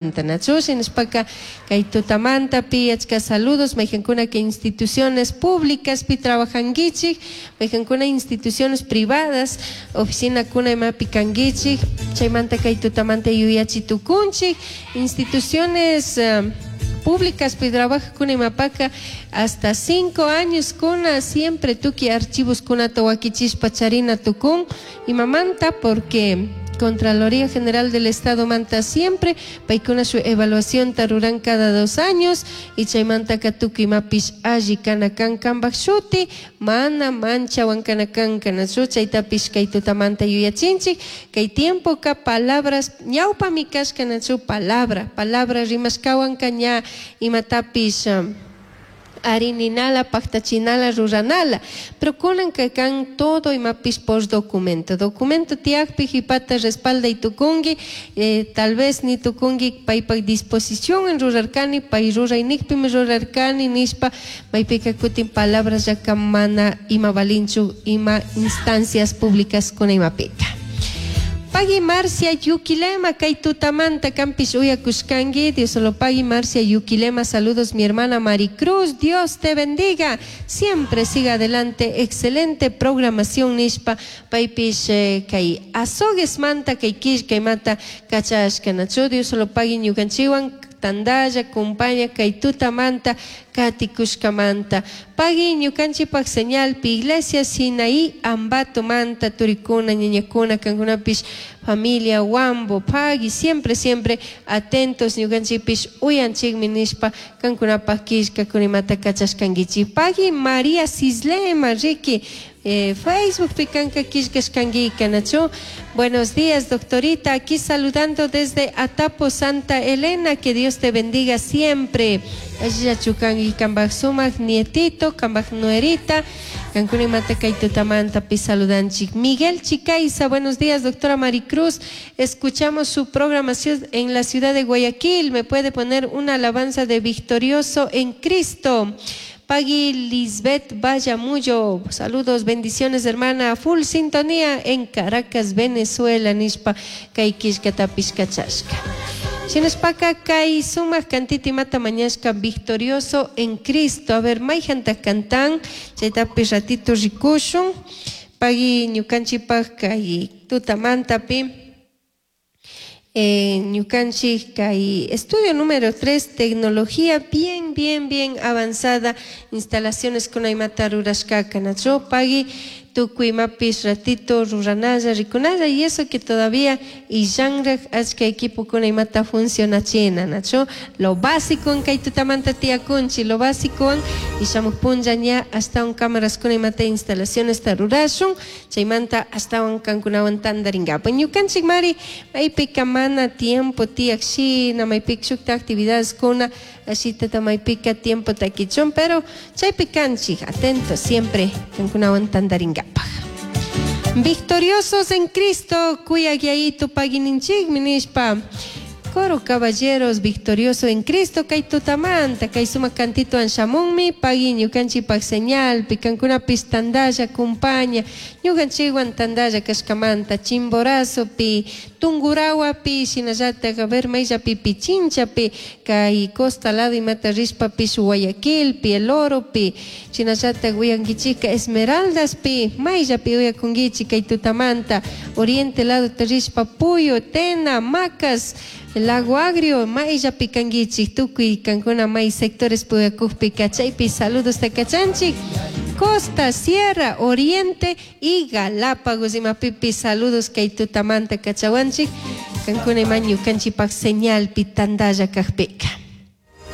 Nachu shinashpaka kay tutamantapi achka saludos mayqankuna kay instituciones públicaspi trabajankichik, mayqankuna instituciones privadas, oficinakuna imapi kankichik, chaymanta kay tutamanta yuyachi tukunchik, instituciones públicaspi trabajakuna imapaka hasta 5 años kuna siempre tukuy archivoskunata wakichishpa charina tukun, imamanta porque Contraloría General del Estado manta siempre paykuna su evaluación ruran cada 2 años y chaymantaka tukuy imapish alli kana kan kanpak shuti mana manchawan kana kan kanachu chaytapish kay tutamanta yuyachinchik kay tiempoka palabras ñawpami kashka nachu palabra palabra rimashkawanka ña imatapish arininala, paktachinala, ruranala. Pero kunanka kan todo imapish por documento. Documento tiyakpi hipata respalda y tukunki, tal vez ni tukunki paypak disposición en rurarkani, pay ruraynikpimi rurarkani nishpa, maypika kutin palabras yaka mana ima valinchu, ima instancias públicas kuna imapika. Pagui Marcia Yuquilema, kay tutamanta kampish uyakushkanki, Dios solo pagui Marcia Yuquilema, saludos mi hermana Maricruz, Dios te bendiga, siempre siga adelante, excelente programación nishpa, paypish kay azogues manta, kay killkay manta, kachashka nachu, Dios solo pagui ñukanchiwan, tandalla, compaña, kay tutamanta, katikushkamanta. Pagui ñukanchikpak señalpi, Iglesia Sinaí, Ambato manta, turikuna, ñañakuna, kankunapish, familia Huambo, pagui, siempre, siempre atentos, ñukanchikpish, uyanchikmi nishpa, kankunapak killkakunimata kachashkankichik. Pagui María Cislema, Ricky, Facebook picanca killkashkanki, nachu. Buenos días, doctorita, aquí saludando desde Atapo, Santa Elena, que Dios te bendiga siempre. Allillachu kanki kambaj sumak nietito, kambaj nuerita, kankunimanta kay tutamanta pi saludanchik. Miguel Chicaiza, buenos días, doctora Maricruz, escuchamos su programación en la ciudad de Guayaquil, me puede poner una alabanza de victorioso en Cristo. Pagui Lisbeth Vallamuyo, saludos, bendiciones hermana, full sintonía en Caracas, Venezuela, nishpa kay killkatapish kachashka. Shinashpaka kay sumak kantiti mata mañashka victorioso en Cristo. A ver, mayjanta cantan, chaytapish ratito rikushun. Pagui ñukanchikpak kay tutamantapi. Ñukanchik kay estudio número 3, tecnología bien, bien, bien avanzada, instalaciones kuna imata rurashkaka, nachu pagui tukuy imapish ratito ruranalla, rikunalla, y eso que todavía illanraj achka equipo kuna imata funcionachina, nachu lo básico en kay tutamanta tiyakunchik, lo básico en y shamuj punlla ña hasta un cámaras kuna imata instalaciones ta rurashun, chaymanta hasta un kankunawan tandarinkapak. Ñukanchik mari, maypika mana tiempo tiyak shina, maypika shukta actividades kuna, ashitata maypika tiempo takichun, pero chaypi kanchik, atentos siempre kankunawan tandarinkapak. Victoriosos en Cristo, kuyagyayito pagininchikmi nishpa. Coro Caballeros, victorioso en Cristo, kay tutamanta, kay suma cantito anshamunmi, pagui ñukanchikpak señal, pikankunapis tandalla, compaña, ñukanchikwan tandalla kashkamanta, Chimborazopi, Tungurahuapi, shinallata, a ver, mayllapi, Pichinchapi, kay Costa lado imata rishpapish Guayaquilpi, El Oropi, shinallata, uyankichika Esmeraldaspi, mayllapi uyakunkichik kay tutamanta, Oriente lado rishpa Puyo, Tena, Macas, Lago Agrio, mayllapi kankichik, tukuy kankuna may sectores puyakukpi kachaypi, saludos takachanchik. Costa, Sierra, Oriente y Galápagos, imapipi saludos kay tutamanta kachawanchik, kankuna ima ñukanchikpak señalpi tandalla kajpika.